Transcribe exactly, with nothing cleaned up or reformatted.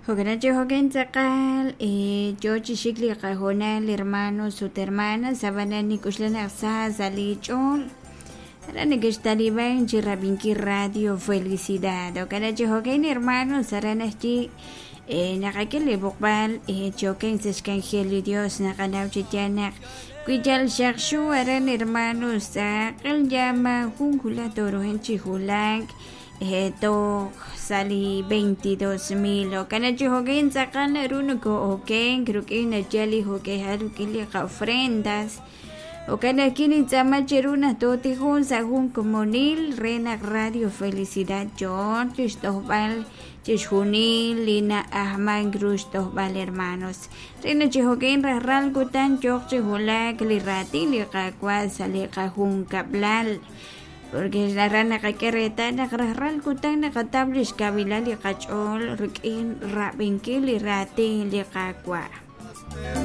Jo'kan chi jo'kan tz'aqal yoo chi xik li qahoonal hermanos ut hermanas ab'anan nik'uxla naq sa sa' li ch'ool aran nekextaliban chi rab'inkil Radio Felicidad. Jo'kan chi jo'kan hermanos aran ajwi' naqak'e li b'oqb'al choken sa' xk'anjel li Dios naqanaw chi yaal naq wi yal xaqxu aran hermanos tz'aqal ya majun wulaj tooruhan chi wulak toj sa' li veintidós mil. Jo'kan chi jo'kan tz'aqal naru noko'oken rik'in nachal li jo'k'ejal rik'in li qa'ofrendas. Jo'kan ajwi' nintz'aama cheru naq tootijun sa' jun komonil re naq Radio Felicidad yo'on chixtojb'al chixjunil li na'ajman ru xtojb'al hermanos. Re naq chi jo'kan rajlal kutan yooq chi wulak li raatin li Qaawa' sa' li qajunkab'lal. Porque aran naqak'e reetal naq rajlal kutan naqataw lix kawilal li qach'ool rik'in rab'inkil li raatin li Qaawa'.